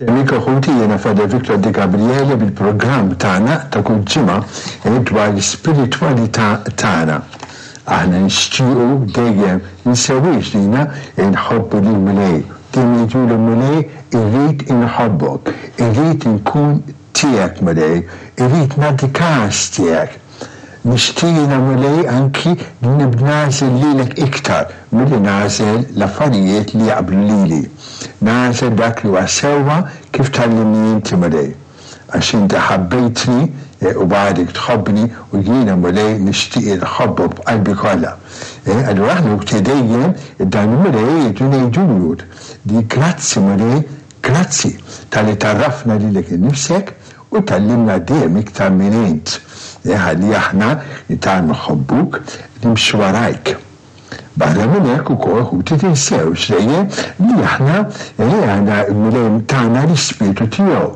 Amico ħuti jiena Father Victor Di Gabriele bil-programm tagħna ta' kull ġimgħa eh, dwar l-ispiritwalità tagħna. Aħna nixtiequ dejjem ninsewiex lina nħobbu lil Mulej. Dejjem ngħidulu Mulej irrid inħobbok, irrid inkun tiegħek Mulej, irrid nagħti każ tiegħek. Nixtieq jiena Mulej anki li nibda nagħżel lilek iktar milli nagħżel l-affarijiet li jaqblu lili. Nagħżel dak li huwa sewwa kif tgħallimni inti Mulej. Għax inti ħabbejtni u għadek tħobbni u jiena Mulej nixtieq inħobbok b'qalbi kollha. Allura aħna wkoll dejjem dan il-Mulej irridu ngħidulu li grazzi Mulej, grazzi talli tgħarrafna lilek innifsek U tgħallimna dejjem iktar min int, ħalli aħna nitgħallmu nħobbuk, nimxu warajk. Barra minn hekk ukoll, ħuti, tinsewx dejjem li aħna għandna l-Mulej tana l-Ispirtu tiegħu,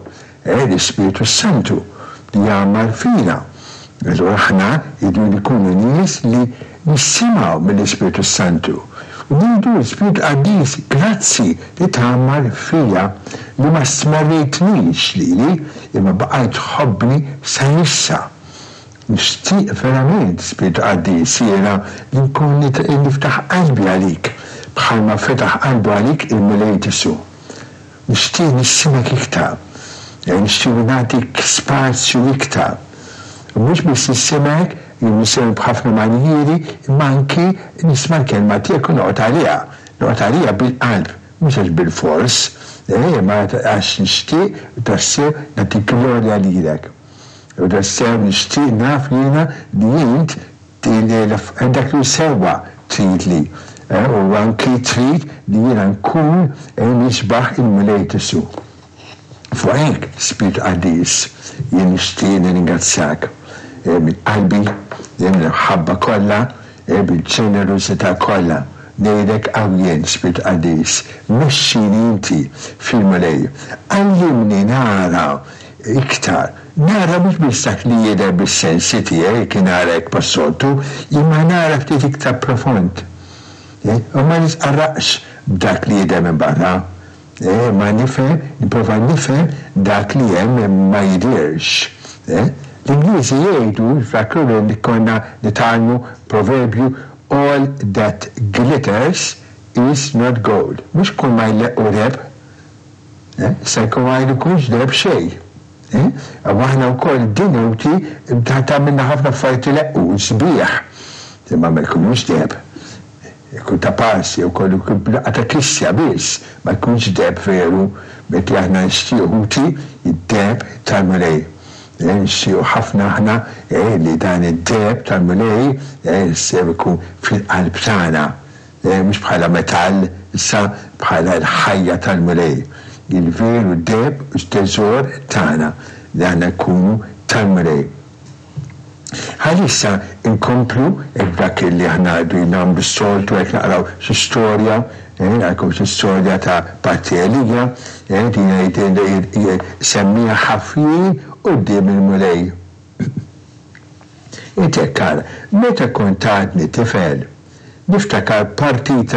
l-Ispirtu s-Santu, li jgħammar fina. Allura aħna rridu nkunu nies li nisimgħu mill-Ispirtu s-Santu. U ngħidu l-Ispirtu Qaddis, grazzi li tgħammar fija, li ma stmerrejtnix lili, imma baqajt tħobbni sa issa. Nixtieq verament, Spirtu Qaddis, jiena li nkun niftaħ qalbi għalik, bħalma fetaħ qalbu għalik il-Mulej Ġesù. Nixtieq nisimgħek iktar. Nixtieq nagħtik spazju iktar. U mhux biss nisimgħek, jew nisimgħek b'ħafna manjieri, imma anki nisma' l-kelma tiegħek u noqgħod għaliha. Noqgħod għaliha bil-qalb, mhux għax bilfors, imma għax nixtieq tassew nagħti glorja lilek. U tassew nixtieq naf jiena li int Dak li hu sewwa trid li, u anki trid li jiena nkun nixbah il-Mulej Ġesù. Fuq hekk, Spirtu Qaddis, jien nixtieq nirringrazzjak minn qalbi, mill-imħabba kollha, bil-ġenerożità kollha. Ngħidlek hawn jien, Spirtu Qaddis, mexxini inti fil-Mulej. Għallimni nara Iktar, nara mhux biss dak li jidher bis-sensi tiegħi, kien nara hekk bħas-soltu, imma nara ftit iktar profond. U ma nitqarraqx b'dak li jidher minn barra. Imma nifhem, nipprova nifhem dak li hemm ma jidhirx. L-Ingliżi jgħidu, niftakru li konna nitgħallmu proverbju, all that glitters is not gold. Mhux kull ma jleqq hu deheb. Se jkun ma jkunx deheb xejn. U aħna wkoll din ħuti tagħmilna ħafna affarijiet ileqqu, sbieħ, imma ma jkunux deheb. Ikun ta' pass jew kollu jkun b'daqqa ta' kissja biss, ma jkunx deheb veru, mentri aħna nixtiequ ħuti d-deheb tal-Mulej. Nixtiequ ħafna aħna li dan id-deheb tal-Mulej sew ikun fil-qalb tagħna. Mhux bħala metall, issa bħala l-ħajja tal-Mulej, il-veru deheb u t-teżor tagħna, li aħna nkunu tal-Mulej. Ħalli issa nkomplu b'dak li aħna qegħdin nagħmlu s-soltu, hekk naqraw xi storja, naqraw xi storja ta' Patri Elija, din jgħid semmiha ħafjin quddiem il-Mulej. Int hekk ara, meta kont għadni tifel, niftakar partita.